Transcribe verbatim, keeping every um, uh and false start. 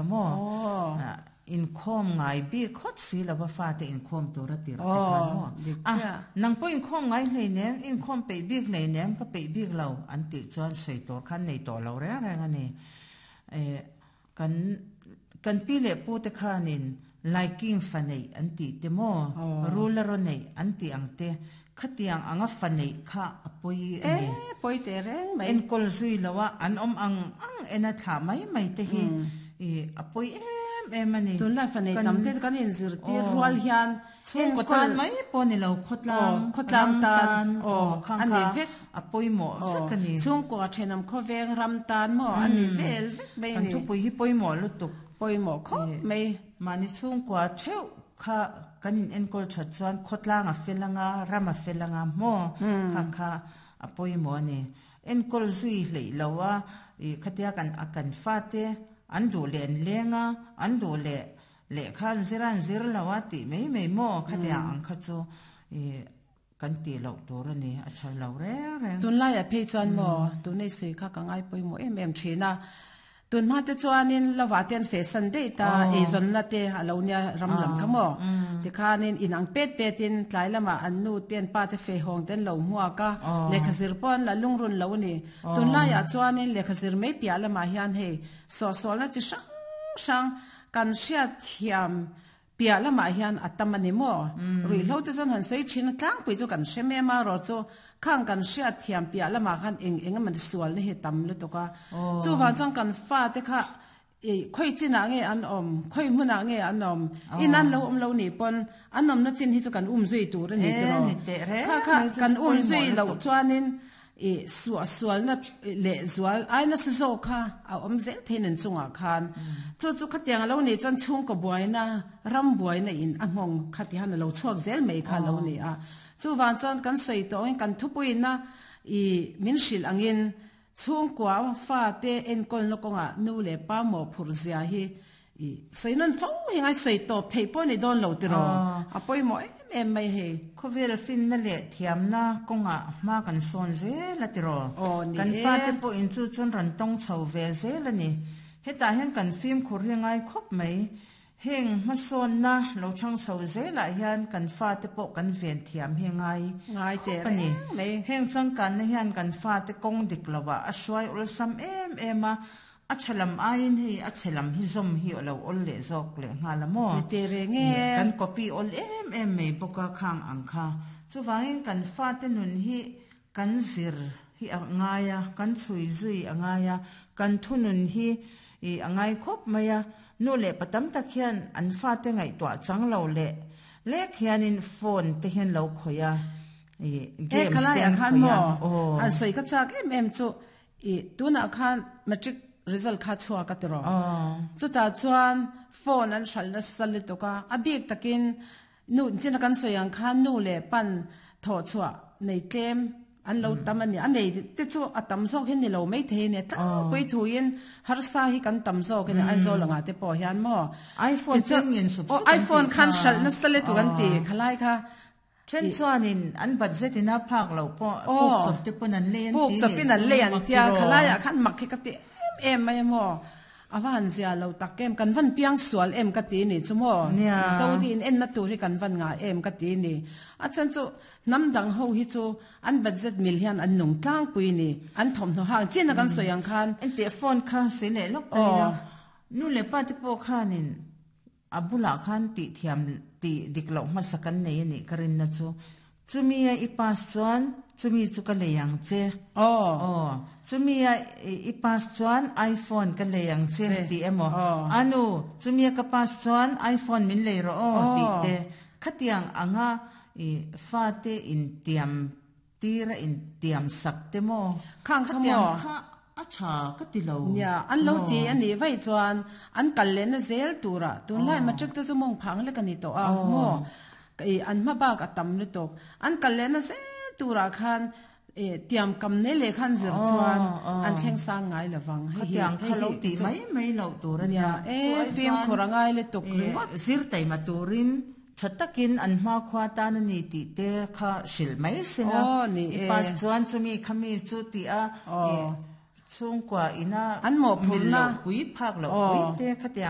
Kha maw inkhawm ngai bik hawt si lova fate inkhawm tur a tir te khan maw a nang pawh inkhawm ngai hleinem inkhawm peih bik hleinem ka peih bik lo an tih chuan sawi tur khan nei tawh lo reng reng a ni. Kan kan pi leh pu te khanin laiking fa neih an tih te maw rul a raw neih an tih ang te khatiang anga fa neih kha a pawi a ni. E pawi teh reng mai. Enkawl zui lo a an awm ang ang en a thlah mai mai te hi a pawi em em a ni. Tunlai fa nei tam te kan inzirtir rual hian chhungkaw tan mai pawh ni lo khawtlang khawtlang tan a ni vek a pawimawh vek a ni. Chhungkaw thenawm khawveng ram tan maw a ni vel vek mai a ni. Kan thupui hi pawimawh lutuk. Pawimawh khawp mai. Mahni chhungkua theuh kha kan in enkawl that chuan khawtlang a fel anga ram a fel anga maw kha kha a pawimawh a ni. Enkawl zui hleih lo a khatia kan a kan fate an duh leh an leng a an duh leh lehkha an zir a an zir lo a tih mai mai maw khatia ang kha chu kan tih loh tur a ni a tha lo reng reng. Tunlaiah phei chuan maw tunei sawi kha ka ngai pawimawh em em thin a. Tunhma te chuanin lovah te an feh san daih ta, eizawnna te a lo nia ram lam kha maw? Tikhanin in ang pet petin tlai lamah an nu te an pa te feh hawng te an lo hmuak a, lehkha zir pawh an la lungrun lo a ni. Tunlaiah chuanin lehkha zir mai piah lamah hian hei sawhsawlna chi hrang hrang kan hriatthiam Piah lamah hian a tam a ni maw? Ruihhlo te chuan han sawi thin a, tlangpui chu kan hre mem a, rawh chu khang kan hriat thiam piah lamah khan eng eng emaw sualna hi a tam lutuk a. Chuvang chuan kan fate kha khawi chinah nge an awm, khawi hmunah nge an awm, in an lo awm lo nih pawn an awmna chin hi chu kan um zui tur a ni tiraw? Kha kha kan um zui loh chuanin I suahsualna leh zual ai nasa zawk kha a awm zel thei nen chungah khan chu chu khatiang a lo nih chuan chhungkaw buaina, ram buaina in a nghawng kha ti han a lo chhuak zel mai kha a lo ni a. Chuvang chuan kan sawi tawh angin kan thupuina i min hrilh angin chhungkua fate enkawlna kawngah nu leh pa mawhphurh zia hi I sawi nawn fo hi ngai sawi tawp theih pawh ni dawn lo tiraw? A pawimawh em em mai hei. Khawvel finna leh thiamna kawngah hma kan sawn zel a tiraw? Aw ni Kan e. fate pawh in chu chuan rawn tawng chho ve zel a ni. Hetah hian kan fimkhur hi ngai khawp mai. Heng hmasawnna lo chhang chho zelah hian kan fate pawh kan ven thiam hi ngai Ngai teh khawp a ni. reng mai. Heng changkanna hian kan fate kawng dik lovah a hruai awlsam em em a. A tha lam aiin hei a chhe lam hi zawm hi a lo awl leh zawk leh nghal a maw? Ni teh reng e. Kan copy awl em em mai bawk a khang ang kha. Chuvangin kan fate nun hi kan zir hi a ngai a, kan chhui zui a ngai a, kan thunun hi a ngai khawp mai a. Nu leh pa tam tak hian an fate ngaihtuah chang lo leh lek hianin phone te hian lo khawih a, E games te khalaiah an khan khawih a, maw? aw. An sawi ka chak em em chu i tunah khan matric result kha chhuak a ti rawh. Chutah chuan phone an hralh nasa lutuk a, a bik takin nu chin a kan sawi ang khan nu leh pan thawh chhuah nei tlem an lo tam a ni. A nei te chu a tam zawk hi ni lo mai thei a ni. Tlangpui thuin harsa hi kan tam zawk a ni Aizawl angah te pawh hian maw. iPhone Tichuan chen ngen sup aw sup an iPhone tih khan kha. hralh nasa lutuk an ti khalai kha. Then chuanin an budget ina phak loh pawh puk chawp te pawn an lei an Puk ti chawpin leh an chu lei an mak tia tiraw. khalaiah khan mak hi ka ti em em mai a maw. A va han zia lo tak em, kan van piang sual em ka ti ni chu maw. Nia. Mizo hi in enna tur hi kan van ngah em ka ti ni. A chhan chu hnam dang ho hi chu an budget mil hian an nung tlangpui ni, an thawmhnaw hang chin a kan sawi ang khan. Enteh phone kha sawi leh lawk ta ila, nu leh pa te pawh khanin A bulah khan tih thiam tih dik loh hmasa kan nei a nih ka rinna chu chumi a i pass chuan chumi chu ka lei ang che. Aw. Chumi a i pass chuan iPhone ka lei ang che tih emaw a nu chumi a ka pass chuan iPhone min lei rawh aw tih te khatiang anga i fate intiam Tira intiam sak te maw? Khang kha maw? Khatiang kha a tha ka ti lo. Nia, an lo ti a nih vaih chuan an kal lehna zel turah tunlai matric te chu mawng phang lek a ni tawh a maw? I an hma bak a tam lutuk. An kal lehna zel turah khan i tiam kam nei leh khan zir chuan an thleng sang ngai lo vang. Hei hi Khatiang kha lo tih mai mai loh tur a nia. Nia, e fimkhur a ngai lutuk ringawt. Zir taima turin Tha takin an hmakhua tan a ni tih te kha hrilh mai se la, i pass chuan chumi khami chu tih a chhungkua ina mil loh pui phak loh pui te khatiang.